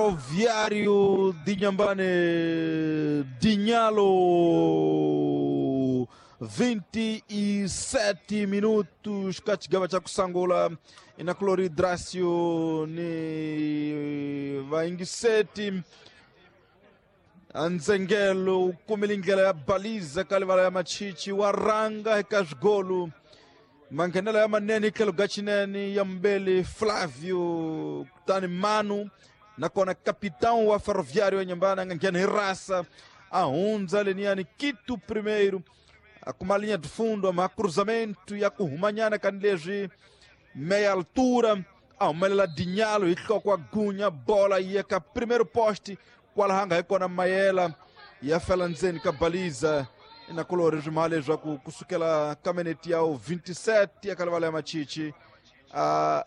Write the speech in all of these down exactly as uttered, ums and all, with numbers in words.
Ferroviário de Inhambane, Dinhalo, vinte e sete minutos, kachigava cha kusangula inakulori Dracio ni vaingiseti anzengelo kumilingela ya baliza kalivala ya machichi waranga hekasgolu mangenelo ya manene ikelo gachinene ya mbele Flávio kutani Manu nakona capitão wa Ferroviário wa Inhambane angangena irasa ahunza leniani Quito primeiro akuma linha de fundo ama cruzamento ya kuhumanyana kanilezwi meia altura ahumelela Dinhalo ihloko agunya bola yeka primeiro poste kwalahanga hikona Mayela ya fela ndzeni ka baliza inakulori swimale swa ku kusukela ka minute ya vinte e sete ya kalivala ya machichi a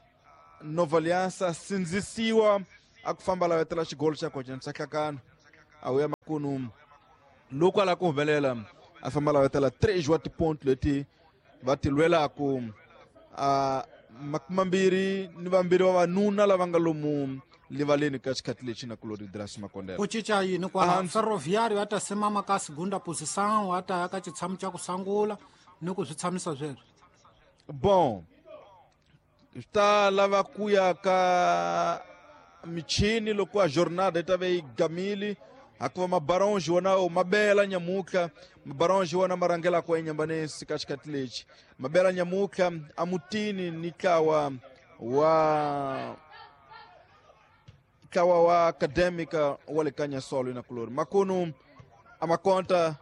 Nova Aliança sindzisiwa a ku famba lavetela xigolo xa kona xa hlakano a wuya makunu loko a lava ku humelela a famba lavetela três wa tiponto leti va ti lwelaku a makume mambirhi ni vambirhi vavanuna lava nga lomu livaleni ka xikhathi lexi na kulori Dracio Makondela ku cinca yini kwala Ferroviário a ta simama ka segunda posição a ta ya ka xitshamo xa ku sungula ni ku swi tshamisa sweswo bon swi ta lava ku ya ka michini loko a jornada yi ta ve yi gamile hakuva mabaronji wona mabela nyamuka mabaronji wona ma rhangelaka enyambanesi ka xikhathi lexi mabela nyamuka amutini ni ntlawa wa ntlawa wa acadêmica wa le Kanyasolo na kulori makunu amakonta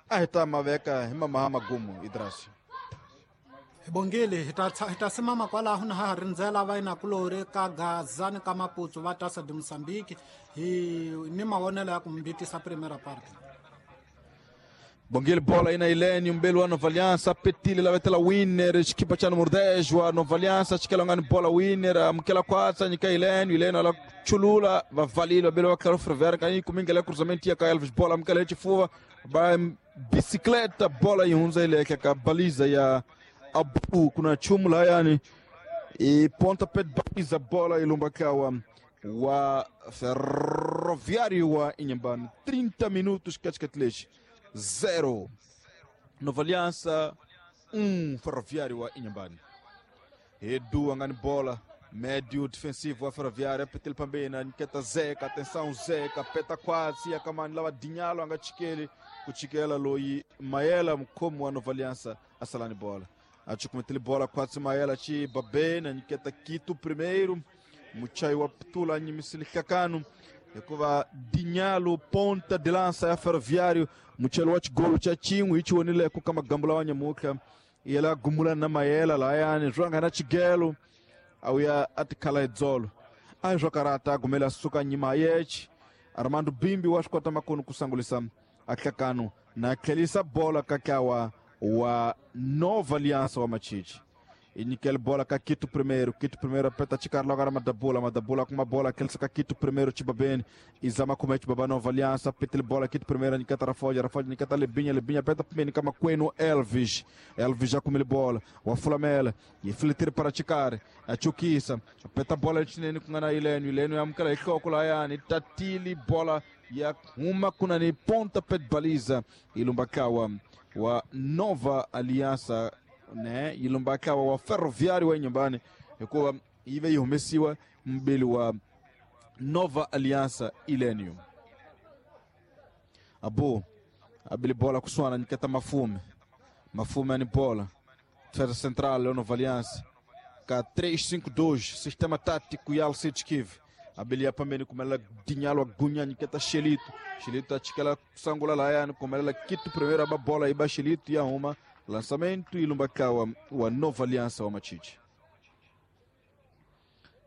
a hi ta maveka hi mamaha magumu Idrasio hi bongile hi ta hi ta simama kwalaho na ha rindzela va inakulori ka Gaza ni ka Maputo va tasa de Moçambique hi ni mavonelo ya ku mbitisa primeira parte. Bongile bola ina Ilene umbelo wa Nova Aliança petile lavetela winner xikipa cha número dez wa Nova Aliança xikelangani bola winner amukela kwatsa nyika Ilene Ilene ala chulula vavalile vabelo wa Claro Ferroviário kanyi kumingela cruzamento ya ka Elvis bola amukela xifuva ba bicicleta bola yi hundza ileke ka baliza ya Abu kuna chumu layani e ponta pé baliza bola ilumba kawa wa Ferroviário wa Inhambane trinta minutos katikati zero Nova Aliança um Ferroviário wa Inhambane. Edu angani bola médio defensivo wa Ferroviário petel pambena niketa Zeca atenção Zeca peta quase akamani lava Dinhalo angachikeli kuchikela loyi Mayela mkomo wa Nova Aliança asalani bola achukumetele bola quase Mayela chi babena niketa Quito primeiro muchai wa ptula nyimisili kakano hikuva Dinhalo ponta de lança ya Ferroviário muchelo wa xigolo xa xin'we hi xi ka magambo lawa nyamuka yela gumula na Mayela layani swa nga na xigelo a wuya a tikhala hi dzolo a hi swa karata a gumela suka nyima yechi Armando Bimbi wa swi kota makunu ku sangulisa a hlakano na tlhelisa bola ka ntlawa wa Nova Aliança wa Machichi inyikele bola ka Quito primeiro Quito primeiro apeta chikari logo era Madabula Madabula com uma bola aquele ka Quito primeiro Chibabene Izama kumete Baba Nova Aliança apeta bola Quito primeiro Niketa Rafoja Rafoja Niketa Lebinha Lebinha apeta primeiro kama Kweno Elvis Elvis já comeu bola o Fulamela e filtro para chikari a Chukisa apeta bola chinene com ana Ileno Ileno ya mkala ikoko la yani tatili bola ya uma kunani ponta pet baliza ilumbakawa wa Nova Aliança ne ilumbakawa wa Ferroviário wa Inhambane hikuva yi ve yi humesiwa mbili wa Nova Aliança Ilenium Abu abili bola kuswana niketa Mafume Mafume ani bola defesa central ya Nova Aliança ka três cinco dois sistema tático ya Alcides Kive abili ya pambeni kumela Dinhalo agunya niketa Xelito Xelito achikela sangula layani kumela Quito primeiro aba bola iba Xelito ya uma lançamento ilumbakawa wa Nova Aliança wa Machichi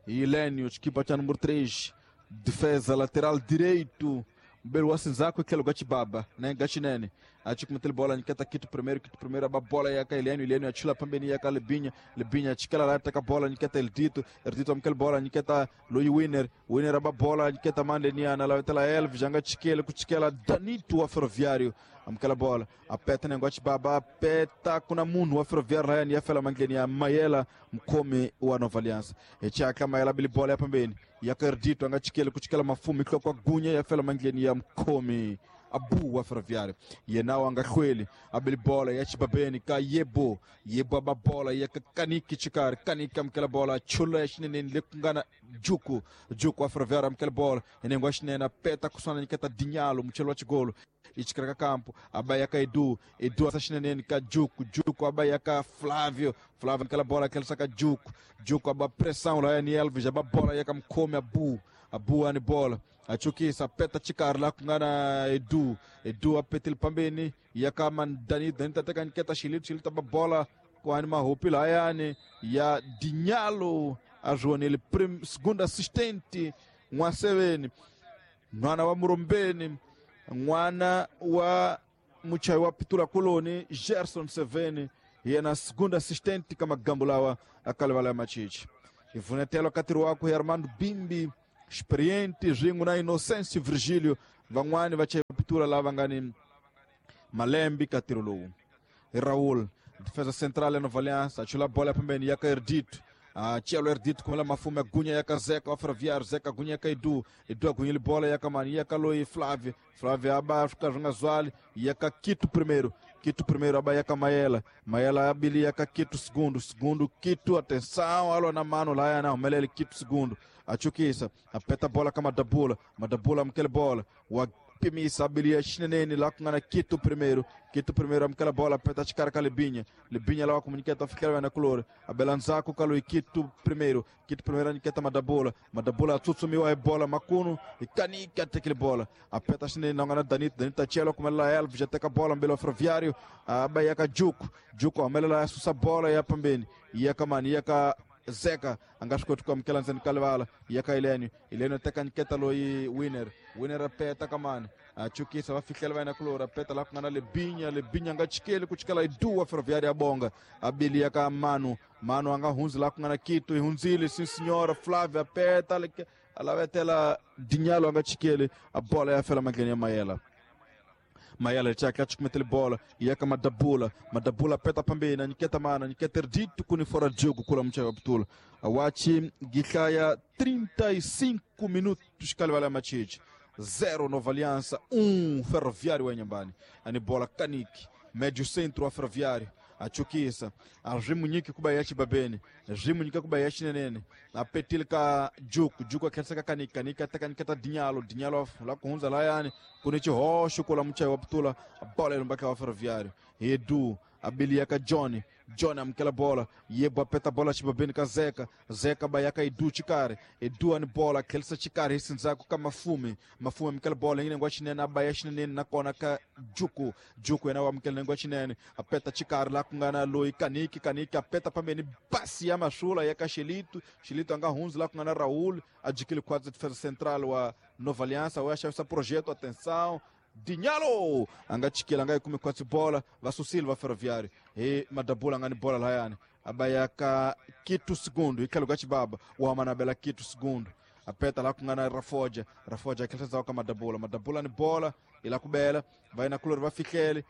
Ilênio, equipa cha número três defesa lateral direito mbele wa sinzako ikelo gachibaba né gachinene Achukumetele bola nyiketa Kitu primeiro, Kitu primeiro aba bola yaka Ileno, Ileno achula pambeni yaka Lebinya, Lebinya achikela la taka bola nyiketa Eldito, Eldito amkele bola nyiketa Loyi Winner, Winner aba bola nyiketa Mandeniana, la vetela Elvis, anga chikele kuchikela Danito wa Ferroviário. Amkela bola, apeta nengochi baba, apeta kuna munhu wa Ferroviário la yani yafela mangleni ya Mayela mkomi wa Nova Aliança. Echaka Mayela bili bola ya pambeni, yaka Erdito anga chikele kuchikela mafumi kwa gunya yafela mangleni ya mkomi Abu wa Ferroviário. Yenao anga kweli abili bola ya chibabeni ka Yebo, Yebo aba bola ya Kaniki chikari, Kaniki amkela bola chula ya shinene lekungana Juku, Juku wa Ferroviário amkela bola enengwa shinene apeta kusana niketa Dinhalo mchelo wa chigolo. Ichikaraka campo abayaka Edu, Edu asashinene ka Juku, Juku abayaka Flávio, Flávio aquela bola aquela saca Juku, Juku aba pressão lá em Elvis, aba bola yaka mkome Abu, Abu ani bola achukisa peta chikar lá kungana Edu, Edu apetil pambeni yaka mandani dani tateka nketa Xilito, Xilito aba bola com anima rupi lá yani ya Dinhalo ajuanele prim segundo assistente Mwaseveni mwana wa Murombeni mwana wa muchai wa Pitula Koloni Gerson Seveni yena segunda assistente kama gambulawa akalevala machichi ivunetelo katiri wako Armando Bimbi experiente ringo na Inocêncio Virgílio van'wani va chai Pitula lava nga ni malembi katiri lowu Raul defesa central ya Nova Aliança achula bola pembeni yaka Erdito. Ah, Tchelo Erdito com ela mafume agunya yaka Zeca wa Ferroviário, Zeca agunya yaka Edu, Edu agunya bola yaka mani yaka Loi Flávio, Flávio aba fica Zwali yaka Quito primeiro, Quito primeiro aba yaka Maela, Maela abili yaka Quito segundo, segundo Quito, atenção, alô na mano lá na melele Quito segundo, achukisa, apeta bola kama Madabula, Madabula mkele bola, wa pimisa abilia chinene lá com Quito primeiro, Quito primeiro amkela bola peta chikara ka Lebinha, Lebinha lá comunicata fikela na color, a Belanzaco kaloi Quito primeiro, Quito primeiro aniketa Madabula, Madabula tsutsumiwa e bola makuno e kanika tekele bola, a peta chinene na ngana Danito, Danito chelo com ela Elvis já teka bola mbele Ferroviário, a bayaka Juku, Juku amela susa bola ya pambeni, yaka mani yaka Zeca angashikotu kwa mkela nzeni kalevala yaka Ileni, Ileni teka nketa loi Winner, Winner apeta kamani achukisa vafikela vaina kulora peta la kungana Lebinya, Lebinya ngachikele kuchikela Edu wa Ferroviário ya bonga abili yaka Manu, Manu anga hunzi la kungana Quito ihunzile sim senhora Flávia apeta alavetela Dinhalo angachikele a bola ya fela magleni ya Mayela. Mayela chaka chukumetele bola yaka Madabula, Madabula peta pambeni niketa mana niketa Erdito kuni fora jogo kula mchaka putula awachi gikhaya trinta e cinco minutos kalivala machichi zero Nova Aliança um Ferroviário wa nyumbani ani bola Kaniki médio centro wa Ferroviário achukisa arrimunyiki kubayachi babeni rimunyika kubayachi nenene apetilika Juku, Juku akhetsa Kaniki, Kaniki ataka niketa Dinhalo, Dinhalo la kuhunza la yani kuni chihosho kula mchai wa putula bola ilumbaka wa Ferroviário Edu abiliaka Johnny, Johnny amkela bola Yebo apeta bola chibabeni ka Zeca, Zeca bayaka Edu chikare, Edu ani bola khelsa chikare hisinzako ka Mafume, Mafume amkela bola ngine ngwa chinene abaya chinene nakona ka Juku, Juku yena amkela ngwa chinene apeta chikare la kungana Loi Kaniki, Kaniki apeta pambeni basi ya mashula yaka Xilito, Xilito anga hunzi la kungana Raul adquire quadro de defesa central wa Nova Aliança, wa essa projeto, atenção Dinhalo anga chikela anga ikumi kwatsi bola vasusile va Ferroviário e Madabula ngani bola layani abayaka Quito segundo ikhalo ka chibaba wa manabela Quito segundo apeta la kungana Rafoja, Rafoja akhetsa ka Madabula, Madabula ni bola ila kubela vai na kulor va fihlele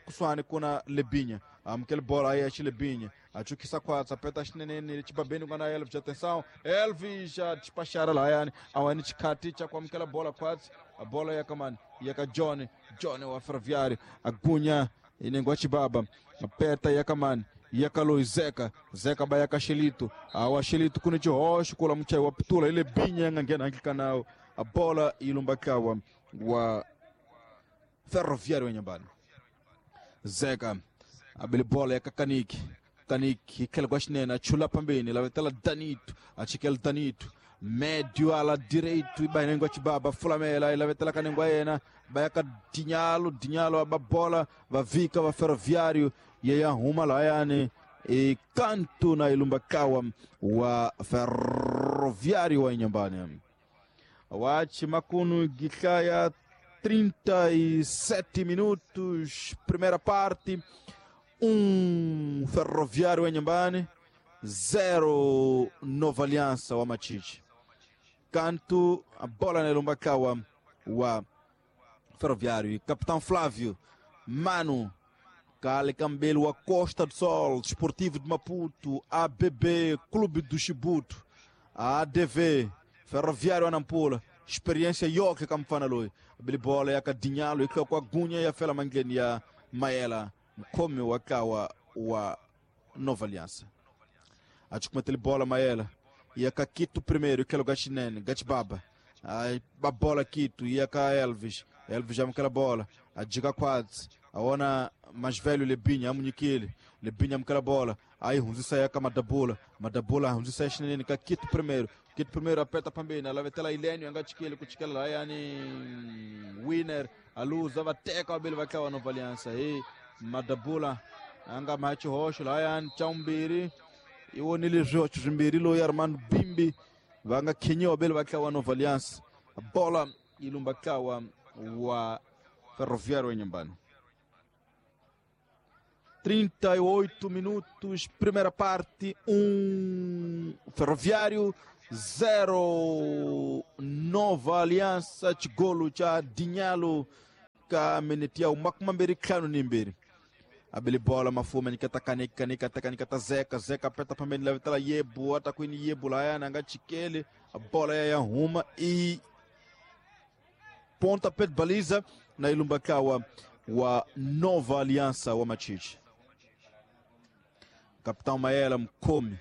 kuswani kuna Lebinha amkele bola aí a Lebinha achukisa kwatsa apeta xinene chibabeni kuna Elvis, atenção Elvis já despachara lá yani awani chikhati cha kwamkela bola kwatsi a bola yakamani yaka Johnny, Johnny wa Ferroviário agunya inengwa chibaba apeta yakamani yaka Loi Zeca, Zeca bayaka Xilito, awa Xilito kuni chihosho kula mchai wa putula ile binya ngangena nkikanao a bola ilumbakawa wa Ferroviário wa nyumbani Zeca abili bola yaka Kaniki, Kaniki ikhele kwa xinene achula pambeni lavetela Danito achikela Danito médio ala direito ibainengwa chibaba fulamela ilavetela kanengwa yena bayaka Dinhalo, Dinhalo aba bola vavika va Ferroviário yeya huma layani e canto na ilumbakawa wa Ferroviário wa nyumbani wachi makunu gikhaya trinta e sete minutos, primeira parte, um Ferroviário em Inhambane, zero Nova Aliança wa Machichi. Canto, a bola na Lumbakawa wa Ferroviário. E Capitão Flávio, Mano, Cale Cambelo, a Costa do Sol, Desportivo de Maputo, A B B, Clube do Chibuto, A D V, Ferroviário Anampula, Experiência Yoke Kamfanaloi, Bilibola ya Kadinhalo, e com a Gunha e a Fela Mangueni ya Maela, Mkome Wakawa wa Nova Aliança. Acho que bola Maela, e a Quito primeiro, que é o Gachinene, Gachibaba, a bola Quito, e a Elvis, Elvis já aquela bola, a Diga Quadros, a ona mais velho Lebinha, a Muniquele, Lebinha aquela bola, aí Hunzisa ya Madabula, Madabula, Hunzisa Chinene, Quito primeiro, Quito primeiro aperta pambina, lá vai ter lá Ilênio, Angachikele, Kuchikela, lá yani Winner, a luz, a teca, a vai cá a Nova Aliança, aí Madabula, anga Macho Rocha, lá yani Chaumbiri, e o Nili Rocha, Jimbiri, Lo Armando Bimbi, vanga Kenyo, Abel vai cá a Nova Aliança, a bola ilumbakawa wa Ferroviário em Inhambane. trinta e oito minutos, primeira parte, um Ferroviário, zero Nova Aliança, Chigolo cha Dinhalo, ka menetia o Macumamberi Klano Nimberi. Abele bola mafuma nikata kanika kanika kanika ta zeka zeka aperta pambeni leva tela yebu atakwini yebu lá nanga chikele a bola ya ruma e ponta pé de baliza na Ilumbakawa wa Nova Aliança wa Machichi. Capitão Maela Mkomi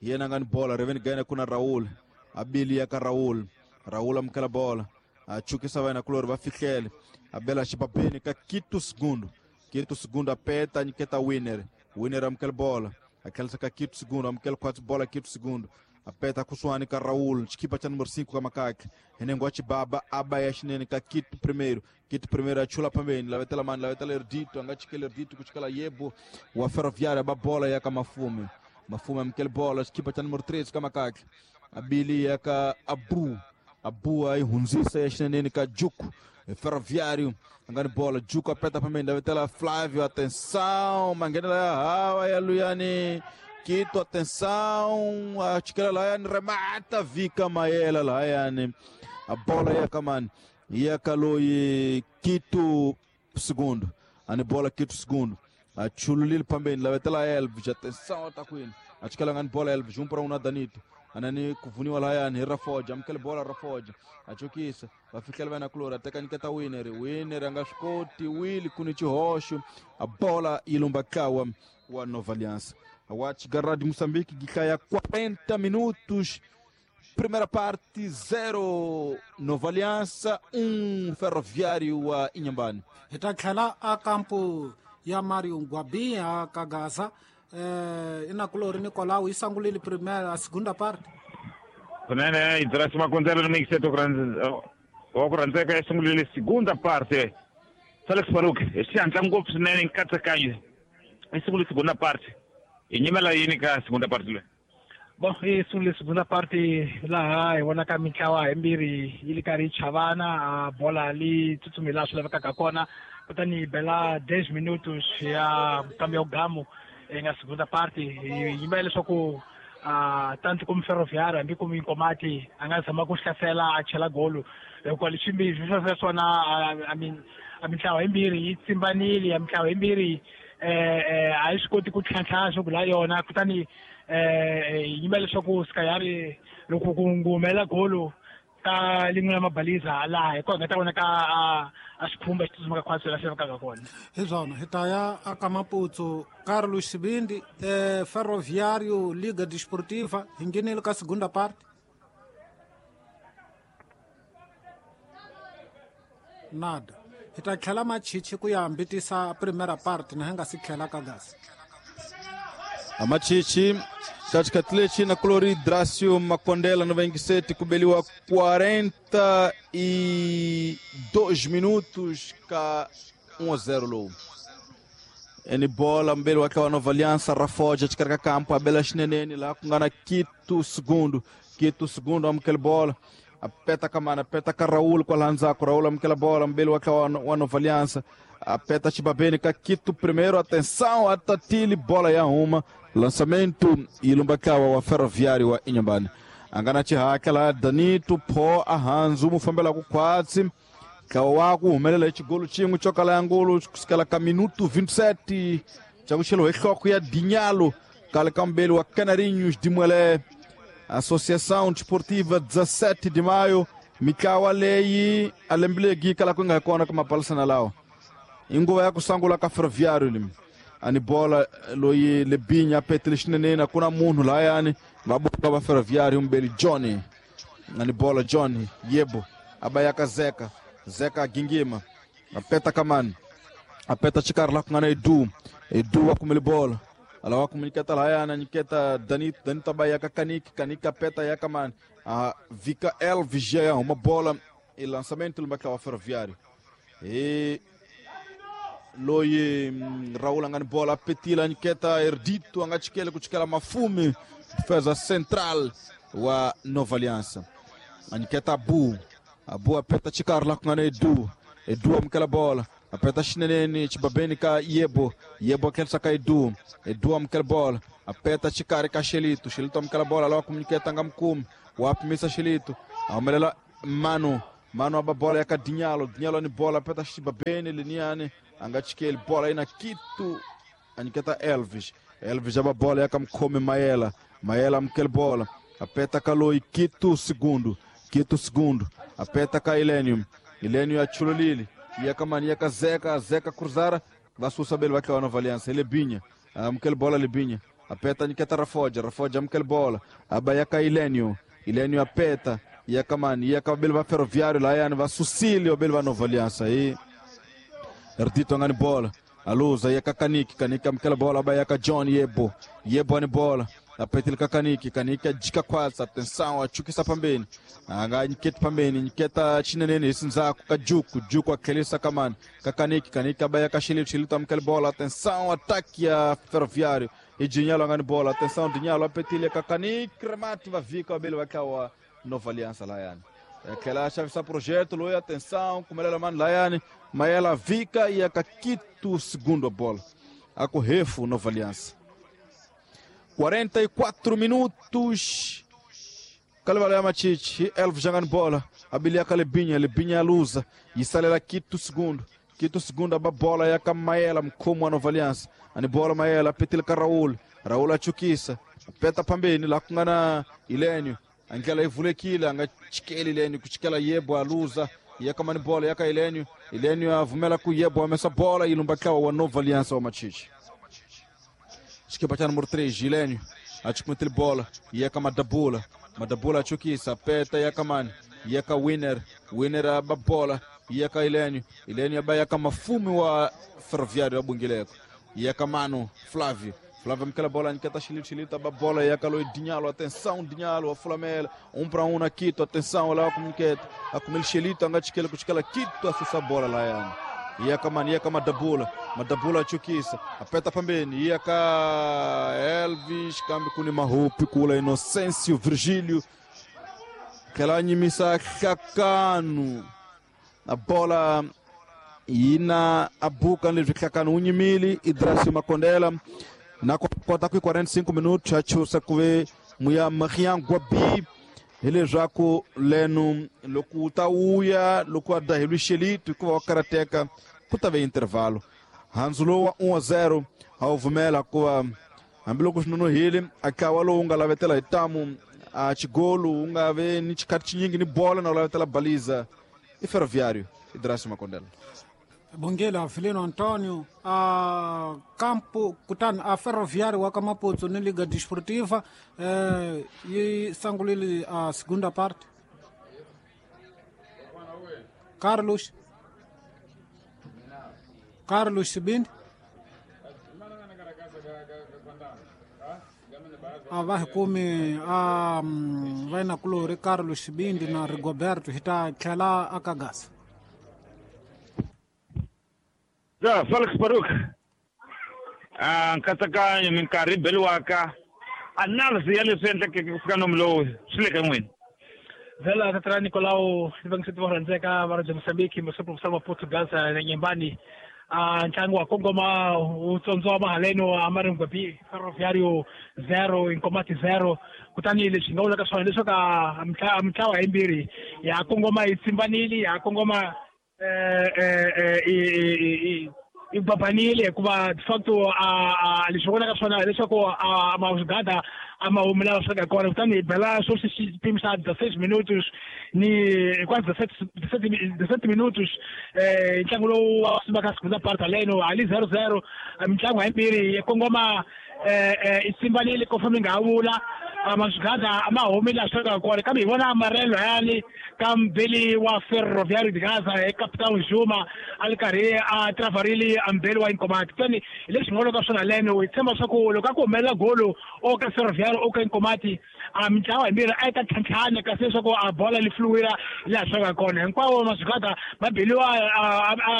yena ngani bola reveni gaina kuna Raul abili ya ka Raul Raul amkala bola achukisa vai na kloro va fihlele abela chipapeni ka Quito segundo Quito segundo aperta niketa Winner Winner amkala bola aquela ka Quito segundo amkala quatro bola Quito segundo aperta kusuani ka Raul chikipa cha número cinco ka Makaki enengo chibaba aba ya chinene ka Quito primeiro Quito primeiro achula pambeni la vetela mani la vetela erdito anga chikele erdito kuchikala yebo wa Ferroviário aba bola ya ka Mafume Mafume amkele bola chikipa cha número treze ka Makaki abili ya ka Abu Abu aí hunzisa ya chinene ka Juku Ferroviário angani bola Juku aperta pambeni la vetela Flávio atenção mangena la hawa ya Luyani Quito, atenção, a Chiquela Laiane remata, Vika Maela Laiane, a bola ia Kamani, ia Kaloi, Quito, segundo, a bola Quito, segundo, a Chululil Pambeni, lá vai ter lá Elvis, atenção, tá com ele, a Chiquela Laiane, bola Elvis, um para um na Danito, a Nani Kuvuniwa Laiane, Rafoja, amkele bola Rafoja, a Chukisa, vai ficar vai na clora, até que a Winner, Winner, Angascote, Willy, Kunichi Rocho, a bola Ilumbakawa, a Nova Aliança. A Watch Garra de Moçambique que cai a quarenta minutos. Primeira parte, zero Nova Aliança, um Ferroviário a Inhambane. Hi tlhela a kampo ya Mario Ngwabi a ka Gaza. Eh, inakulori Nicolau yi sangulile primeira a segunda parte. Kunene Idrasi Makonzela ni mixeto wa ku rhandzeka yi sungulile segunda parte. Felix Faruk hi xihatla ngopfu swinene nkatsakanyo yi sungule segunda parte. Hi nyimela yini ka segunda parte leyi? Bon, yi sungule segunda parte laha hi vonaka mintlawa yimbirhi yi li karhi yi chavana, bola li tsutsumi laha swi lavekaka kona, kutani yi bela dez minutos ya kambe ya gamu nga segunda parte. Hi yimela leswaku tanto como Ferroviário hambi como Inkomati a nga zama ku hlasela a chela golo, hikuva leswi swi swona a a mintlawa yimbirhi yi tsimbanile, a mintlawa yimbirhi eh a yi swi koti ku tlhantlha swo la yona, kutani eh yimela leswaku Sikayari loko ku humela golo ka lin'we la mabaliza laha hi kona nga ta vonaka a xikhumba xi tsutsumaka khwatsi laha swi lavekaka kona. Hi swona hi ta ya aka Maputsu. Carlos Sibindi, eh, Ferroviário Liga Desportiva hi nghenile ka segunda parte. Nada. Hi ta tlhela Machichi ku ya hambitisa primeira parte na hi nga si tlhela ka Gaza. A Machichi katikati na Clori Drácio Makondela noventa e sete kubeliwa quarenta e dois minutos ka um a zero low. Eni bola mbele wakawa Nova Aliança Rafoja chikarika campo abela chinenene lá kungana Quito segundo Quito segundo amkel bola Apeta ka mana, apeta ka Raul kwala ndzhaku. Raul amukela bola, mbeli wa ntlawa wa Nova Aliança. Apeta xibabeni ka Quito primeiro, atenção, atatili, bola ya huma. Lançamento e lumba ntlawa wa Ferroviário wa Inhambane. A nga na xihaka laha Danito pho a handzu mu fambelaku khwatsi. Ntlawa wa ku humelela hi xigolo xin'we xo kala ya ngolo kusukela ka minuto vinte e sete xa ku xeliwa hi nhloko ya Dinhalo kale ka mbeli wa Canarinhos de Muelé. Associação Desportiva dezessete de Maio, mitlawa leyi a lembe legi kala ku nga kona ka mapalisana lawa. I nguva ya ku sungula ka Ferroviário limi. Ani bola loyi Lebinha petele xineneni, a ku na munhu lahayani va buka va Ferroviário mbeli Johnny. Ani bola Johnny yebo abayaka Zeka, Zeka gingima apeta kamani, apeta xikarhi la ku nga na Edu, Edu wa kumele bola. Ala wa kumuniketa lahayana niketa Danito, Danito abayaka Kaniki, Kaniki apeta yaka mani. A Vika Elvis ya uma bola e lançamento lumba wa Ferroviário. E loyi Raul angani bola petila niketa Erdito angachikele kuchikela Mafume, defesa central wa Nova Aliança. Aniketa Abu, Abu apeta xikarhi la ku nga na Edu, Edu amukela bola. Apeta xineneni xibabeni ka Yebo, Yebo akhensa ka Edu, Edu amukela bola, apeta xikarhi ka Xelito, Xelito amukela bola lawa kumuniketa nga mukumi, wa pimisa Xelito, a humelela Mano, Mano aba bola ya ka Dinhalo, Dinhalo ni bola apeta xibabeni liniani, a nga chikeli bola ina Quito, aniketa Elvis, Elvis aba bola ya ka mukhomi Maela, Maela amukela bola, apeta ka loyi Quito segundo, Quito segundo, apeta ka Ilênio, Ilênio achulolile. Yaka mani yaka Zeka, Zeka cruzara, va susa bele va Nova Aliança, Lebinha, amukela bola Lebinha, apeta niketa Rafoja, Rafoja amukela bola, abayaka Ilênio, Ilênio apeta, yaka mani, yaka bele va Ferroviário lá yani va Sucílio bele va Nova Aliança aí. Erdito ngani bola, aluza yaka Kaniki, Kaniki amukela bola, abayaka John Yebo, Yebo ani bola. Apetile ka Kaniki, Kaniki ajika khwatsa, atenção, achukisa pambeni. Anga niketa pambeni, niketa xineneni hi sindzhaku ka Juku, Juku akhelisa ka mani, ka Kaniki, Kaniki abaya ka Xilito, Xilito amukela bola, atenção, ataque ya Ferroviário. E Dinhalo angani bola, atenção, Dinhalo apetile ka Kaniki, remate va vika bele va tlawa Nova Aliança layani. Aquela chave sa projeto, loyi, atenção, kumelela mani layani, Maela vika e a Quito segundo a bola. A correfo Nova Aliança. quarenta e quatro minutos. Kalevala Machichi, Elvis jogando bola. Abilia Lebinha, Lebinha luza. E salela Quito segundo. Quito segundo, a bola ya Maela, mkhomo wa Nova Aliança. Ani bola Maela, petile ka Raul. Raul achukisa. Peta pambeni la ku nga na Ilênio. Angela ivulekile, anga chikeli Ilênio, kuchikela Yebo aluza. Yaka mani bola yaka Ilênio. Ilênio avumela ku Yebo, amessa bola e lumba wa Nova Aliança wa Machichi. Esquipa cha número três, Gilênio, achukumitile bola, yeka Madabula, Madabula achukisa, apeta yeka mani, yeka Winner, Winner aba bola, yeka Ilênio, Ilênio aba yeka Mafume wa Ferroviário abungileko, yeka Mano, Flávio, Flávio amukela bola, niketa Xilito, Xilito aba bola, yeka loi Dinhalo, atenção Dinhalo, a Flamela, um para um na Quito, atenção, lá comuniketa, akumile Xilito, angachikele kuchikela Quito, asusa bola lá yani. Yaka mani, yaka Madabula, Madabula achukisa, apeta pambeni, yaka Elvis, kambi kuni mahupi kula Inocêncio Virgílio, kela nyimisa Kakanu, a bola ina abuka nilivyo Kakanu unyimili, Idrasio Makondela, na kota kui quarenta e cinco minutos, achusa kuve muya Marian Guabi, hileswaku leno loko u ta uya loko a daheliwe Xelito hikuva wa karateka ku ta ve intervalo. Handzu lowu wa um a zero a wu pfumela hikuva hambiloko swi nonohile a ntlawa lowu nga lavetela hi tamu a xigolo wu nga ve ni xikhathi xinyingi ni bola na wu lavetela baliza i Ferroviário Idrasio Makondela. Bongela Filino Antonio a campo kutani a Ferroviário wa ka Maputo ni Liga Desportiva eh, yi sangulile a segunda parte. Carlos Carlos Sibindi a va hi kumi a vainakulori Carlos Sibindi na Rigoberto hi ta tlhela a ka gasa. Ja, Felix Baruk. Ah, nkatsakanyo minkarhi beliwaka analysis ya leswi endlekeke ku fika nomu lowu swi le ka n'wina. Vela tatara Nicolau vangiseti va rhandzeka va ra Mozambique Musopo wa Portugal na Nyembani a ntlangu wa kongoma wu tsondziwa mahaleno a Maringwabi Ferroviário zero Inkomati zero kutani leswi nga vulaka swona leswaku a mitlawa yimbirhi ya kongoma yi tsimbanile ya kongoma eh eh i i babanile hikuva de facto a leswi vonaka swona leswaku a mazigada a ma humela swa ka kona kutani hi bela swo xipimo xa dezesseis minutos ni quase dezessete minutos eh ntlangu lowu wa sumaka segunda parte aleno ali zero zero mitlangu hayimbirhi ya kongoma eh i tsimbanile ko famba nga vula mazigada a ma humela swa ka kona kambe hi vona amarelo yani ka mbeli wa Ferroviário de Gaza e Capitão Juma a ri karhi a travarile a mbeli wa Inkomati kutani hi leswi nga loko swona leno hi tshemba swa ku loko a ku humelela golo o ka Ferroviário o ka Inkomati a mitlawa yimbirhi a yi ta tlhantlhana kasi leswaku a bola li fluwira laha swa ka kona hinkwawo mazigada ma beliwa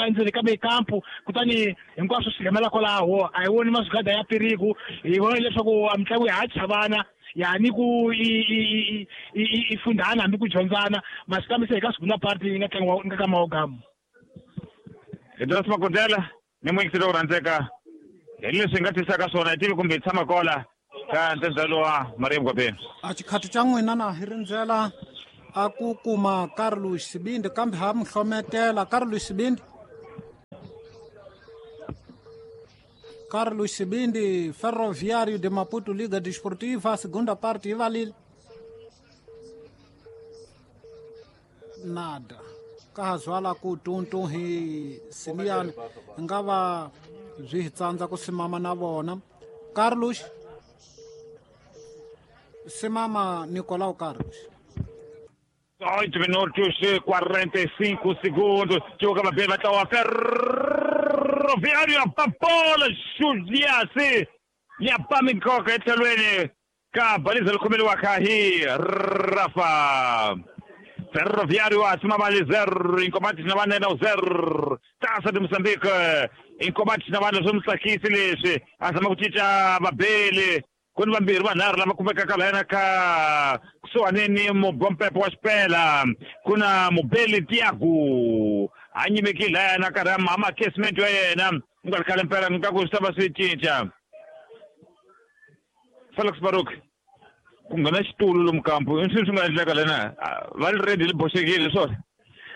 endzeni ka mikampu kutani hinkwaswo swi hemela kwalaho a hi voni mazigada ya piriku hi vona leswaku a mitlangu ya ha chavana yani ku i i fundana hambi ku dyondzana masi kambe se hi ka segunda parte yi nga tlangiwa nga ka maogamu hi Dos Makondela ni muyingiseri wo rhandzeka hi leswi hi nga twisaka swona hi tivi kumbe hi tshama kola ka ntsenzalo wa Maria Mugwabeni a xikhati xa n'wina na hi rindzela a ku kuma Carlos Sibindi kambe ha mi hlometela Carlos Sibindi Carlos Sibindi Ferroviário de Maputo Liga Desportiva segunda parte ivalile nada ka ha zwala ku tuntu hi simiyani nga va byi hi tsandza ku simama na vona Carlos simama Nicolau Carlos oito minutos e quarenta e cinco segundos. Joga bem, vai estar o Ferroviário, a bola, Juliasi, e a Pamicoca, etlhelweni ka baliza likhomeliwaka hi Rafa. Ferroviário acima vale zero, em combate na banda não zero. Taça de Moçambique, em combate na banda somos aqui silêncio. Azama kuchicha babele. Quando vambirhi vanharhu lava kumekaka lahayana ka kusuhaneni mubompepo wa xipela ku na mubeli Tiago a nyimekile lahayana karhi a ma casement ya yena ku nga ri khale mpela ni ka ku swi ta va swi cinca Felix Baruk ku nghena xitulu lomu kampu i swilo swi nga endleka lena va ri ready li boxekile swona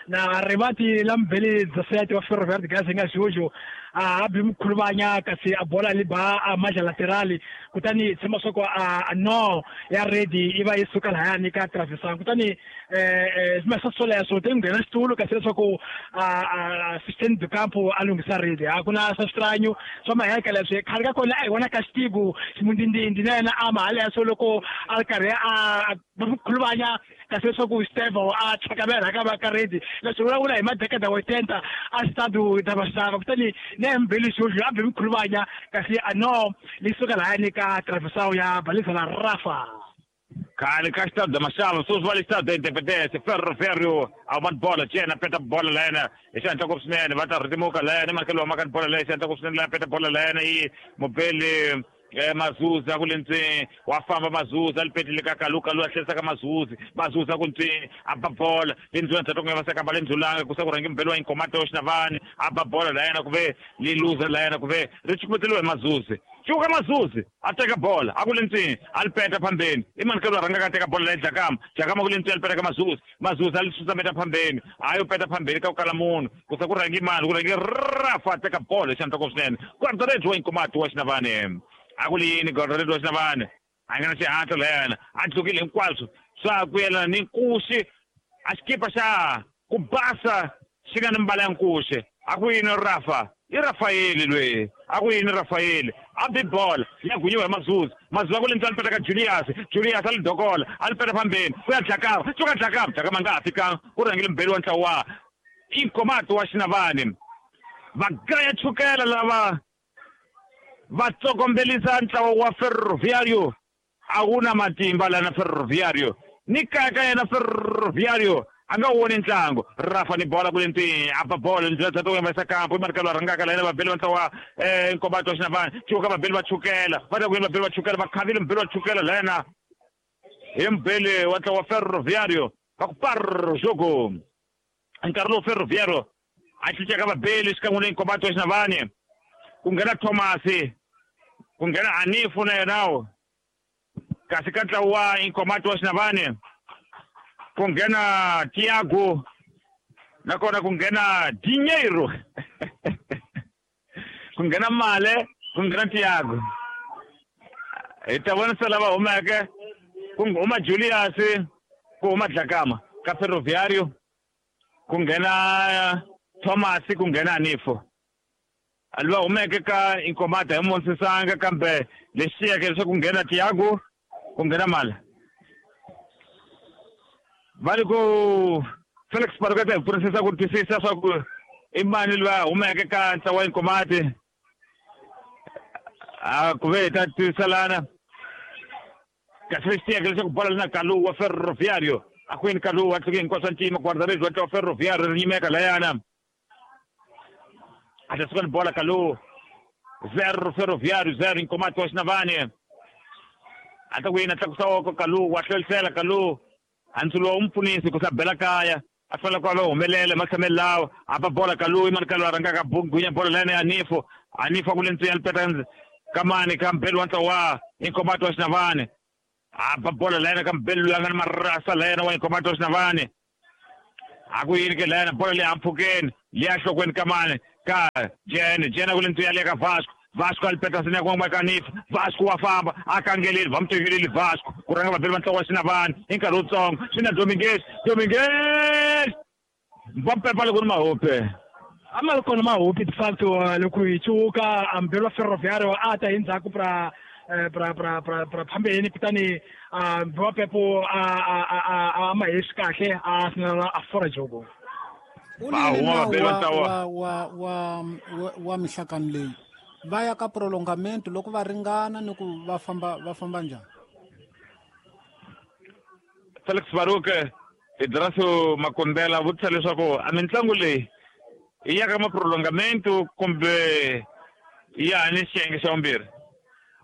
na rivati la mbeli dezessete wa Ferroviário de Gaza nga Jojo a bi mkhuluvanya kasi a bola li ba a maja laterali kutani tshemba swa ku a no ya ready i va yi suka lahayani ka travesan kutani eh eh swoleswo te nghena xitulu kasi leswaku a assistant de campo a lunghisa ready a ku na swa switranyo swa maheka leswi khale ka kona a hi vona ka xitiku ximundindindi na yena a mahaleswo loko a ri karhi a mkhuluvanya kasi leswaku Stevo a tlhakamela ka va ka ready leswi vulavula hi madekada oitenta a xitadu da vaxava kutani na mbeli xoxo a bi mkhuluvanya kasi a no li suka lahayani ka traversao ya balisa la Rafa khale ka xitadu da maxava sweswi va le xitadu da Independence Ferroviário a va bola cena peta bola lahayana hi xihatla ngopfu swinene va ta rhitimuka lahayana makelo wa maka bola leyi xihatla ngopfu swinene laha peta bola lahayana yi mubeli eh Mazuza ku le ntseni wa famba Mazuza li petile ka Kalu Kalu a tlherisa ka Mazuzi Mazuza ku ntseni a ba bola le ndzula ndzhaku nga va seka ba le ndzulanga ku sa ku rhangi mbeli wa Inkomati wa Xinavani a ba bola lahayana ku ve li luza lahayana ku ve ri chukumeteliwe hi Mazuzi cuka Mazuzi a teka bola a ku le ntseni a li peta phambeni i mani ka loyi a rhangaka a teka bola leyi Dlakama Dlakama ku le ntseni a li peta ka Mazuzi Mazuzi a li susameta phambeni a yo peta phambeni ka ku kala munhu ku sa ku rhangi mani ku rhangi Rafa a teka bola hi xandla swinene guarda-redes wa Inkomati wa Xinavani a ku li yini guarda-redes wa Xinavani a nga na xihatla lahayana a tlukile hinkwaswo swa ku yelana ni nkuxi a xikipa xa ku basa xi nga ni mbala ya nkuxi a ku yini Rafa i Rafaeli loyi a ku yini Rafaeli a bi bola ya gunyiwa hi Mazuzi Mazuzi a ku le ntswani peta ka Julius Julius a li dokola a li peta phambeni ku ya Dlakama suka Dlakama Dlakama a nga ha fikanga ku rhangile mbeli wa ntlawa wa Inkomati wa Xinavani va gaya chukela lava va tsokombelisa ntlawa wa Ferroviário a wu na matimba lana Ferroviário ni kaya ka yena Ferroviário a nga woni ntlangu Rafa ni bola ku le ntseni a ba bola ndlela tata ku yambisa kampu i mani ka loyi a rhangaka la yena vabeli va ntlawa um Nkomati wa Xinavani cuka vabeli va chukela va ta ku yini vabeli va chukela va khavile mubeli wa chukela la yena hi mubeli wa ntlawa Ferroviário Va ku par jogo. Nkarhi lowu Ferroviário a cincaka vabeli xikan'we na Inkomati wa Xinavane. Ku nghena Thomas, ku nghena Anifu na yena. Kasi ka ntlawa wa Inkomati wa Xinavane ku nghena Tiago nakona ku nghena Dinheiro. Ku nghena Male, ku nghena Tiago. Hi ta vona se lava humeke ku huma Julius, ku huma Dlakama ka Ferroviário, ku nghena Thomas, ku nghena Anifo. Lava humeke ka Inkomati hi Monsisanga, kambe lexi xiyeke leswaku ku nghena Tiago, ku nghena Male. Va ri ku Felix Paruketa hi pfunisisa ku twisisa swa ku i mani loyi a humeke ka ntlawa wa Inkomati. A ku ve hi ta twiselana. Kasi lexi tiyeke leswaku bola na Kalu wa Ferroviário. A ku yini Kalu wa tluke hinkwaswo ntima guarda-redes wa ntlawa wa Ferroviário ri nyimeka layana. A ta suka ni bola Kalu. Zero Ferroviário, zero Inkomati wa Xinavane. A ta ku yini a tlakusa oko Kalu wa hlwelisela Kalu. Antsulo u mpfunisi ku sa bela kaya. A fanele ku va humelela matshamelo lawa. A ba bola Kalu, i mani Kalu a rhangaka gunya bola layana ya Anifo. Anifo a ku le ntswiya lipeta kamani ka mbeli wa ntlawa wa Inkomati wa Xinavane. A ba bola layana ka mbeli loyi a nga ni marasa layana wa Inkomati wa Xinavane. A ku yini ke layana bola leyi ampfhukeni leyi enhlokweni kamani ka Jene. Jene a ku le ntswiya leya ka Vasco. Vasco a lipeta sina ku ka Anifo. Vasco wa famba a kangeleli va mu tekeleli Vasco ku rhanga vabeli va ntlawa wa Xinavane hi nkarhi wutsongo. Swi na Dominguez, Dominguez va pepa loko ni mahope. A ma ri kona mahopi de facto loko hi cuka mbeli wa Ferroviário a ta hi ndzhaku pra pra pra pra pra phambeni, kutani mbeli wa Pepo a a a a ma hesi kahle a sinela a fora jogo. U ni nawu wa wa wa wa mihlakano leyi va ya ka prolongamento loko va ringana ni ku va famba va famba njhani? Felix Baruke Idraso Makondela vutisa leswaku a mitlangu leyi i ya ka maprolongamento kumbe ya ni xiyenge xa vumbirhi?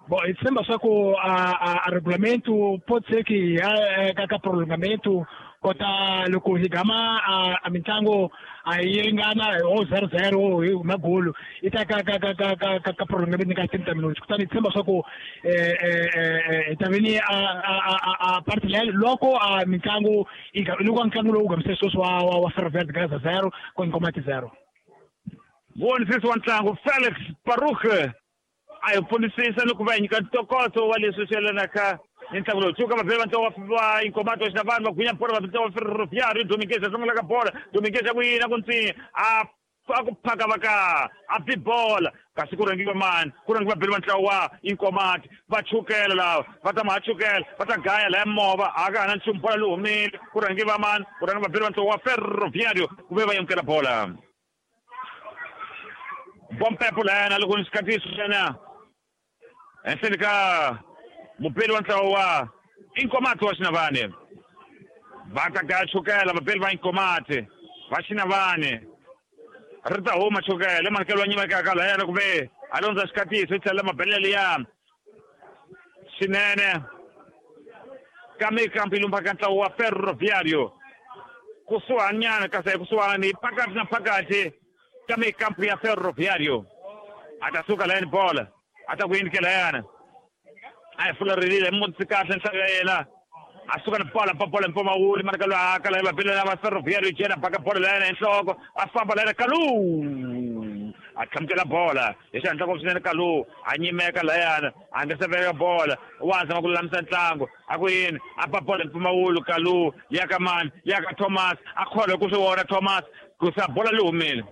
Bom, hi tshemba swa ku a a regulamento pode ser que ya ka ka prolongamento kota loko hi gama a mitlangu a yi ringana o zero zero hi magolo i ta ka ka ka ka ka ka prolongamento ka treinta minutos. Kutani hi tshemba swa ku eh eh hi ta veni a a a parte leyi loko a mitlangu loko ntlangu lowu gamise sweswi wa wa Ferroviário Gaza zero ku Inkomati zero. Vonisisi wa ntlangu Felix Baruch a hi pfunisisa ni ku va hi nyika ntokoto wa leswi swi yelanaka ni ntlangu lowu. Tshuka vabeli va ntlawa wa Inkomati wa Xinavane va gunya bola va ntlawa wa Ferroviário. Dominguez a sungula ka bola. Dominguez a ku yina ku ntsinya a a ku phaka va ka a bi bola. Kasi ku rhangiwa mani? Ku rhangiwa vabeli va ntlawa wa Inkomati va chukela lava va ta ma chukela va ta gaya laya movha a ka ha na nchumu bola leyi humile. Ku rhangiwa mani? Ku rhangiwa vabeli va ntlawa wa Ferroviário ku ve va yamukela bola. Bompepo layana loko ni xikatiso xana henhleni ka mubeli wa ntlawa wa Inkomati wa Xinavane. Va ta gaya chukela vabeli va Inkomati va Xinavane. Ri ta huma chukela manikelo wa nyimekaka layana ku ve a londza xikatiso yi tlhela mabelele liya swinene ka mikampi lumba ka ntlawa wa Ferroviário kusuhanyana kasi a kusuhani phakathi na phakathi ka mikampu ya Ferroviário. A ta suka layani bola a ta ku yini ke layana a hi fularile mutsi kahle nhlayo ya yena a suka ni bola pa bola mpfumawuli mani loyi a kala vabeli lava Ferroviário jena baka bola layana hi nhloko a famba layana Kalu a tlhamukela bola hi xihatla ngopfu swinene. Kalu a nyimeka layana a nga se veka bola wa zama ku lulamisa ntlangu a ku yini a ba bola mpfumawulu Kalu ya ka mani ya ka Thomas a kholwa ku swi vona Thomas ku sa bola leyi humile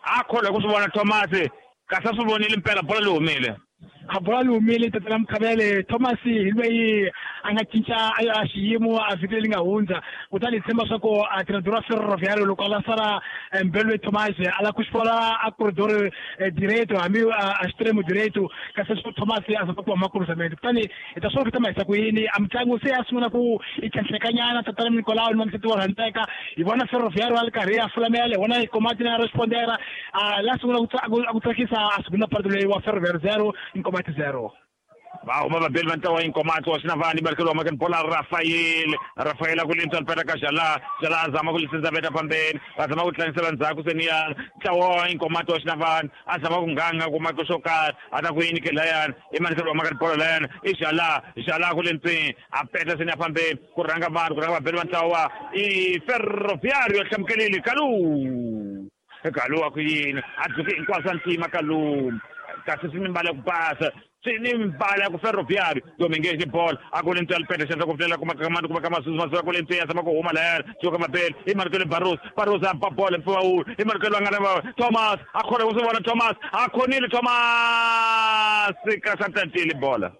a kholwa ku swi vona Thomas kasi a swi vonile mpela bola leyi humile. A bola leyi humile tatana Mkhabele. Thomas hi loyi a nga cinca a xiyimo a vhiki leri nga hundza, kutani hi tshemba swa ku a treinador wa Ferroviário loko a lançara mbelo Thomas a lava ku xi a corredor direito hambi a extremo direito kasi swo Thomas a zama ku huma cruzamento. Kutani hi ta swi vona ku ta ku yini a mitlangu se ya sungula ku yi tlhentlhekanyana tatana Nicolau ni Mamseti wa rhandzeka. Hi vona Ferroviário a ri karhi a fulamela, hi vona Inkomati na respondera a la sungula ku tsakisa a segunda parte leyi wa Ferroviário zero Inkomati zero. Va huma vabeli va ntlawa Inkomati wa Xinavani barikelo wa makeni bola Rafael Rafael ku lintswa mpela ka Jala Jala a zama ku lisenza veta pambeni va zama ku tlangisela ndzhaku seniya ntlawa wa Inkomati wa Xinavani a zama ku nganga ku maka xo karhi a ta ku yini ke layani i manikelo wa makeni bola layani i Jala Jala ku lintswini a peta seniya pambeni ku rhanga vanhu ku rhanga vabeli va ntlawa i Ferroviario hlamukelile Kalu Kalu a ku yini a dzuke hinkwaswo ntima Kalu kasi swi ni mbala ku basa swi ni mbala ku Ferroviario Dominguez ni ball a ku lentswe alipete xandla ku pfulela kuma ka mani kuma ka masuzu masuzu ku lentswe ya zama ku huma layani suka mabele i manikelo Barros Barros a ba ball mpfumawulo i manikelo a nga na Thomas a khona ku swi vona Thomas a khonile Thomas kasi a tatile bola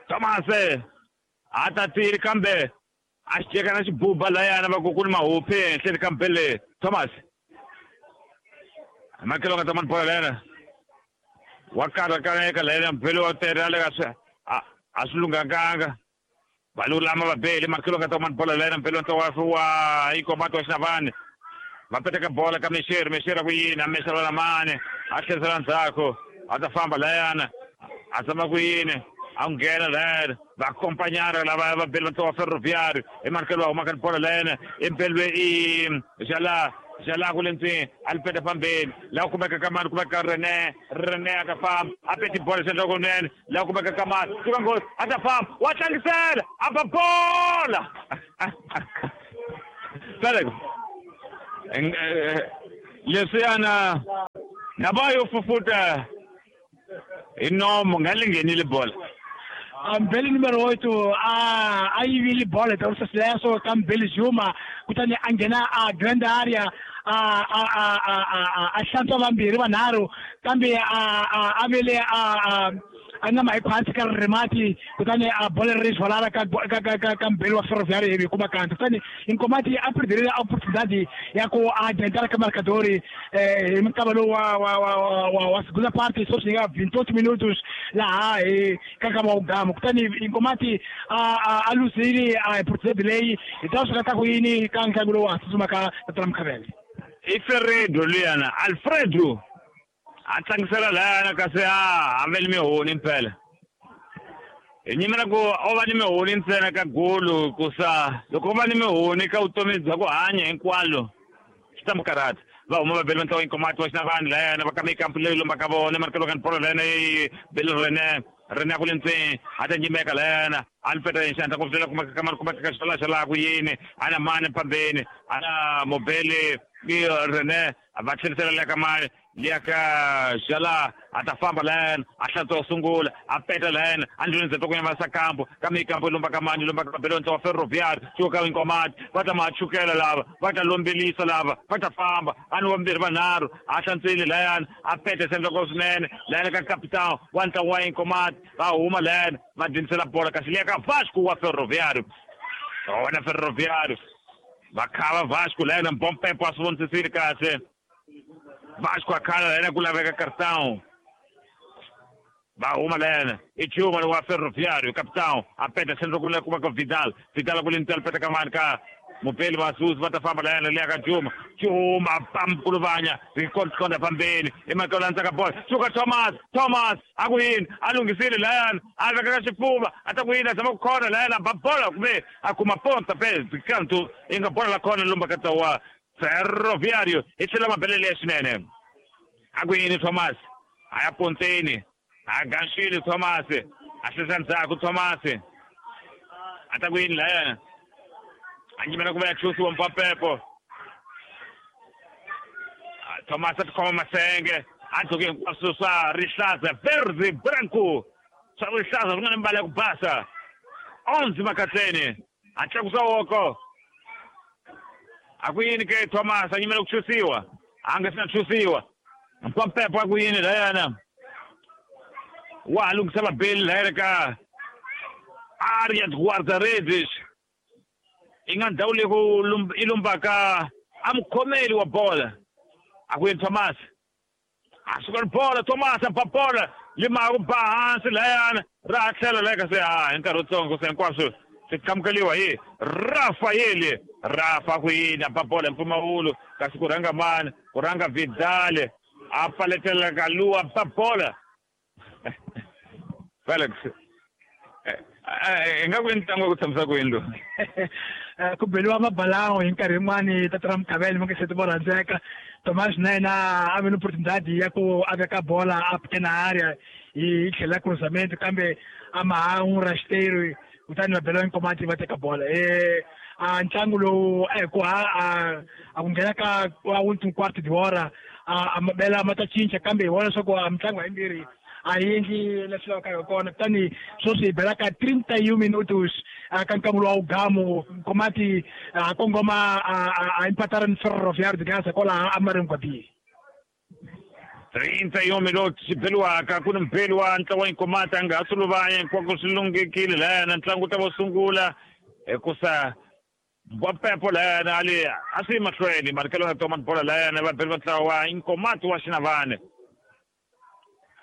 Thomas a tatile kambe a xi teka na xibuba layana va ku ku ni mahopi ehenhleni ka mbele Thomas makelo nga ta mani bola layana wa karhakaneka layena mbele wa tere a le ka swi a a swi lunghanganga va lulama vabeli makelo nga ta mani bola layena mbele wa ntlawa wa Inkomati wa Xinavani va peteka bola ka Mexeri Mexeri a ku yini a mexela na mani a tlherisela ndzhaku a ta famba layana a tshama ku yini a nghena layana va akompanyara lava vabeli va ntlawa wa Ferroviario i manikelo wa humaka ni bola layena i mbelwe i Jala Jala ku lentswini a li peta fambeni laha kumeka ka mani kumeka Rene Rene a ta famba a peti bola xandla kunene laha kumeka ka mani suka nghozi a ta famba wa tlangisela a ba bola Felix leswiyana na va yo fufuta hi nomo nga li nghenile bola. Mbele numero oito a a yivile bola ta Ursa ka Mbele Juma kutani a nghena a grand area a a a a a hlantswa vambirhi vanharhu kambe a a a vele a a nga mahi khwatsi ka rimati kutani a bola ri zwalara ka ka ka ka Mbele wa Ferroviario hi kuma kanto kutani Inkomati a perderile oportunidade ya ku adiantar ka marcador eh hi mukava lowu wa wa wa wa wa segunda parte só chega vinte e oito minutos laha hi ka ka mawugama kutani Inkomati a a luzile a oportunidade leyi hi ta swi ta ku yini ka ntlangu lowu wa tsutsuma ka Tramkhavele i Ferredo luyana Alfredo a tlangisela layana kasi a a vele mihoni mpela hi nyimela ku o va ni mihoni ntsena ka golo ku sa loko o va ni mihoni ka vutomi bya ku hanya hinkwalo swi ta mu karhata va huma vabeli va ntlawa Inkomati wa Xinavani layana va kama ikampu leyi lombaka vona manikelo ka ni bola layana yi bele Rene Rene a ku le ntseni a ta nyimeka layana a ni peta xandla ku pfulela kuma ka mani kuma ka xala xala ku yini a na mani pambeni a na mobele i Rene va tlherisela le ka mani liya ka Jala a ta famba layana a hlantswa sungula a peta layana a ndlwini ndzhaku ku yima sakambo ka mikambo lomba ka mani lomba ka belo ntlawa Ferroviario suka ka Inkomati va ta ma chukela lava va ta lombelisa lava va ta famba a ni vambirhi vanharhu a hlantswile layana a peta sendla ko swinene layana ka capitão wa ntlawa wa Inkomati va huma layana va dyindzisela bola kasi liya ka Vasco wa Ferroviario wona Ferroviario va khava Vasco layana Mbompepo a swi vonisisile kahle Vasco a khala layana ku laveka cartão va huma layana i Juma wa Ferroviario capitão a peta sendla ku kuma ka Vidal Vidal ku lentsela peta ka mani ka Mupeli Masuzu va ta famba layana liya ka Juma Juma pamkuluvanya rikonda pambeni i makelo landzaka bola suka Thomas Thomas a ku yini a lunghisile layana a veka ka xifuva a ta ku yini a zama ku khona layana ba bola kumbe a kuma ponta pe kantu i nga bola la khona lomba ka tsawa Ferroviario i tlhela mabelele ya swinene a ku yini Thomas a ya ponteni a ganxile Thomas a hlesa ndzhaku Thomas a ta ku yini layana a nyimela ku va ya chusiwa Mpampepo Thomas a tikhoma masenge a dzuke hinkwaswo swa rihlaza verde branco swa rihlaza swi nga ni mbala ya ku basa onze makatleni a tlakusa woko a ku yini ke Thomas a nyimela ku chusiwa a nga si na chusiwa Mpampepo a ku yini layana wa ha lunghisa vabeli layana ka Aria Guarda-Redes i nga ndhawu leyi ku i lombaka a mukhomeli wa bola a ku yini Thomas a suka ni bola Thomas a ba bola lima ku ba hansi layana ra tlhela laya ka se a hi nkarhi wutsongo se hinkwaswo swi qhamukeliwa hi Rafael Rafa ku yini a ba bola hi mpfumawulo kasi ku rhanga mani ku rhanga Vidal a paletela ka luwa ba bola Felix i nga ku i ntlangu wa ku tshamisa ku yini lowu ku beliwa mabalango hi nkarhi yin'wani tata ra Mukhavele mi nge se ti vo rhandzeka Thomas na yena a ve ni opportunidade ya ku a veka bola a pequena area hi tlhela cruzamento kambe a ma ha n'wi rasteiro kutani va beliwa Nkomati va teka bola eh a ntlangu lowu a hi ku ha a ku nghena ka wa último quarto de hora a mabela ma ta cinca kambe hi vona leswaku a mitlangu hayimbirhi a yi endli leswi lavaka hi kona kutani sweswi hi bela ka trinta e um minutos ka nkangulo wa ugamu Nkomati a kongoma a empatara ni Ferroviário de Gaza kwalaha Amarenguabi trinta e um minutos xi beliwaka ku ni mubeli wa ntlawa wa Nkomati a nga ha suluvanya hinkwako swi lunghekile lahayana ntlangu wu ta va sungula hikusa Mbapepo lahayana ali a swi mahlweni marikelo ya toma bola lahayana va beli va ntlawa wa Nkomati wa Xinavane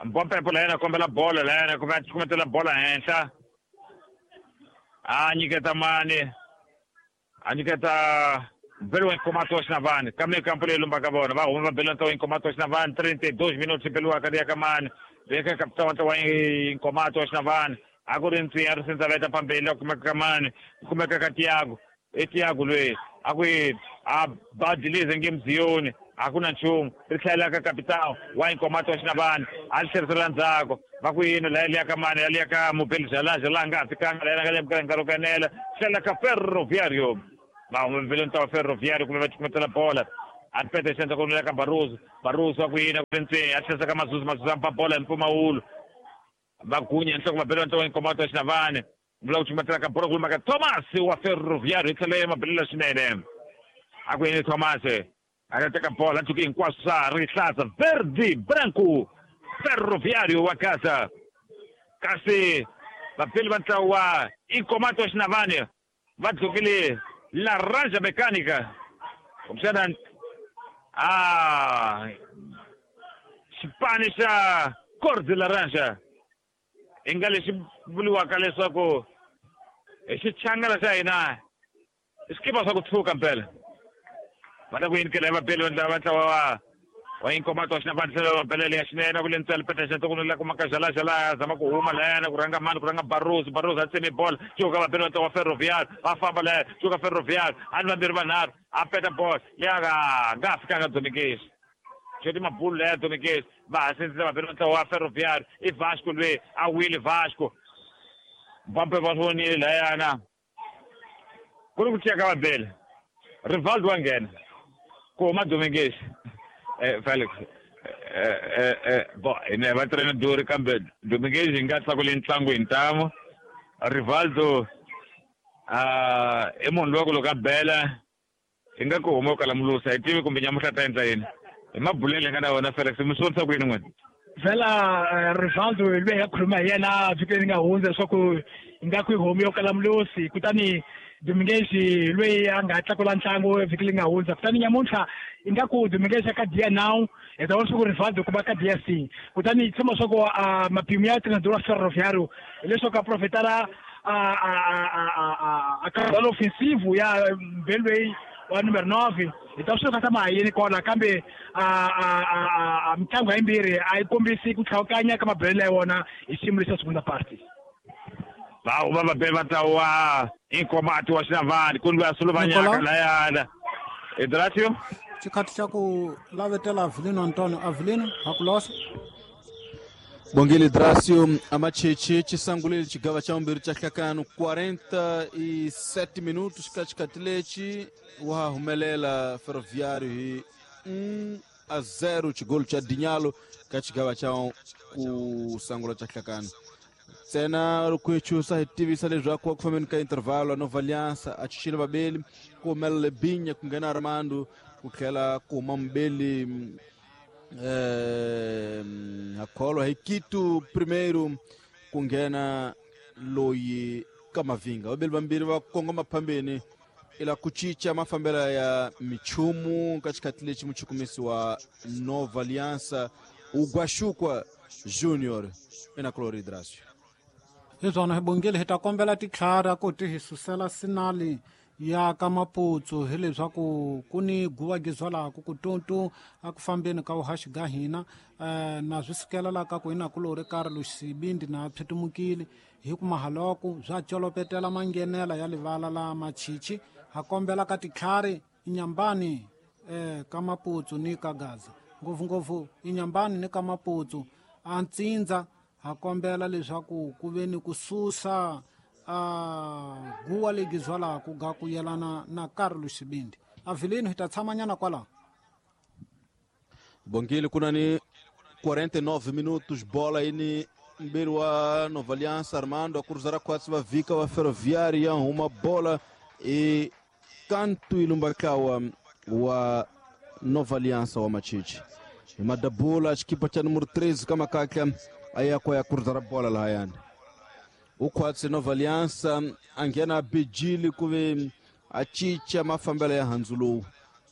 Mbapepo lahayana kombela bola lahayana kumbe a cukumetela bola henhla a nyiketa mani a nyiketa mbeli wa Nkomati wa Xinavane kambe kampo leyi lumbaka vona va huma va beli ntlawa wa Nkomati wa Xinavane trinta e dois minutos beliwaka liya ka mani leka kapitana wa ntlawa wa Nkomati wa Xinavane a ku ri ntsiya ri sindza veta phambili a kumeka ka mani kumeka ka Tiago i Tiago loyi a ku a badilize nge mziyoni a ku na nchumu ri tlhela ka kapitao wa Nkomati wa Xinavane a ri tlherisela ndzhaku va ku yini laya liya ka mani ya liya ka mubeli Jalaja laha nga ha fikanga laya nga le nkarhi wo kanela tlhela ka Ferroviário va huma mbeli ntlawa Ferroviário kumbe va cukumetela bola a ri pete xandla ku ka Barroso Barroso wa ku yini ku ri ntseni a tlherisa ka Mazuzu Mazuzu a mpa bola hi mpfumawulo va gunya nhloko va bela ntlawa wa Nkomati wa Xinavane vula ku cukumetela ka bola ku lumaka Thomas wa Ferroviário hi tlhela ya mabelela swinene a ku yini Thomas a ta teka bola ntshuki hinkwaswo swa rihlaza verde branco Ferroviário wa Gaza kasi vapeli va ntlawa wa Nkomati wa Xinavane va dlukile Laranja Mecânica kumbexana a xipani xa cor de laranja i nga lexi vuriwaka leswaku hi xichangana xa hina i swikipa swa ku tshuka mpela va ta ku yinikela hi vabeli va ntlawa wa wa Nkomati wa Xinavane tlhelo va belele ya xinene ku le ntswele peta xantsoko la kuma ka Jalaja laha zama ku huma lahayana ku rhanga mani ku rhanga Barroso Barroso a tseme bola cuka vabeli va ntlawa wa Ferroviário va famba lahaya cuka Ferroviário a ni vambirhi vanharhu a peta bola leya nga nga ha fikanga Domingues xoti mabulu laya Domingues va ha sindzisa vabeli va ntlawa wa Ferroviário i Vasco loyi a wile Vasco Mbampe va vonile lahayana ku ri ku ciya ka vabeli Rivaldo wa nghena ku huma Domingues eh Felix eh eh eh bo ine va trainer duri kambe Domingues hi nga tlakule ntlangu hi ntamu Rivaldo ah i munhu loyi ku loko a bela hi nga ku huma ku kala mulusa hi tivi kumbe nyamuhla ta endla yini hi mabulele nga na wona Felix mi swi vonisa ku yini n'wina vhela Rivaldo loyi hi nga khuluma hi yena vhiki leri nga hundza leswaku hi nga ku yi homi yo kala mulusi kutani Domingues loyi a nga tlakula ntlangu vhiki leri nga hundza kutani nyamuntlha i nga ku Domingues ka dia now hi ta vona leswaku Rivaldo ku va ka dia c kutani tshemba leswaku mapimo ya treinador wa Ferroviário hileswaku a profetara a caudal ofensivo ya mbeli loyi wa numero nove hi ta swi kata ma yini kona kambe a mitlangu hayimbirhi a yi kombisi ku tlhawukanya ka mabelelo ya wona hi xiyimo lexa segunda parte va huma vabeli va ntlawa Nkomati wa Xinavane ku ni loyi a suluvanyaka layana Idratio xikhathi xa ku lavetela Avelino Antonio Avelino hakulosa Bongile Dracio amacheche chisangulile chigava cha umbiri cha hlakano quarenta e sete minutos ka xikhathi lexi wa humelela Ferroviário hi um a zero xigolo cha Dinhalo ka xigava cha ku sangula cha hlakano ntsena loko hi chusa hi tivisa leswaku ku fambeni ka intervalo a Nova Aliança a chuchile vabeli ku humelela Binya ku nghena Armando ku tlhela ku huma mubeli eh akholwa hi Quito primeiro ku nghena loyi ka Mavinga vabeli vambirhi va kongoma phambeni ila ku cinca mafambelo ya michumu ka xikhathi lexi muchukumisi wa Nova Aliança Ugwashukwa Junior ina Cloridracio hi swona hi bongile hi ta kombela titlhara ku ti hi susela sinali ya ka Maputsu hileswaku ku ni guva gizwalaku ku tuntu a ku fambeni ka vuhaxi ga hina eh, na swi sukela ka ku hina kulori Carlos Sibindi na phetumukile hi ku mahaloko bya colopetela manghenela ya livala la Machichi ha kombela ka titlhari inyambani eh, ka Maputsu ni ka Gaza ngopfungopfu inyambani ni ka Maputsu a ntsindza ha kombela leswaku ku ve ni ku susa a guwa legi zwalaku ga ku yelana na Carlos Sibindi. Avilino hi ta tshamanyana kwalaho. Bongile kuna ni quarenta e nove minutos, bola aí ni mbele wa Nova Aliança, Armando a cruzar quase va vika wa Ferroviária, uma bola e canto ilumbakawa wa Nova Aliança wa Machichi. Madabula equipa cha número treze kama kaka ayako ya cruzar a bola la hayani. Ukwatse Nova Aliança angena bijili kuve achicha mafambela ya hanzulu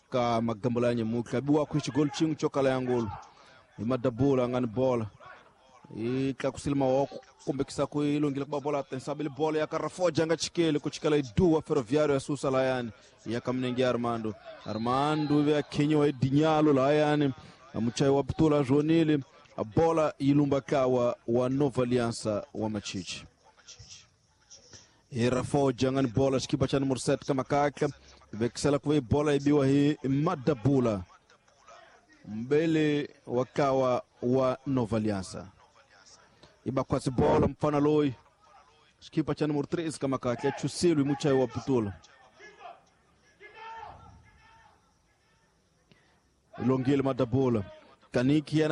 ka magambola ya nyemuka biwa kuichi gol chingu chokala ya ngolo. Imadabula ngani bola itlakusile mawoko kumbekisa kuilungile kuba bola tensabile bola ya Karafoja nga chikele kuchikala iduwa Ferroviário ya susa layani ya kamnengi Armando Armando ya Kenya edinyalo layani amuchai wa putula jonile a bola ilumba kawa wa Nova Aliança wa Machichi. Rafoja ngani bola xikipa cha número sete kama kaka vekisela kuve bola ibiwa hi Madabula mbele wakawa wa Nova Aliança. Ibakwasi bola mfana loi xikipa cha número treze kama kaka chusilwi muchai wa putula ilongile Madabula kaniki.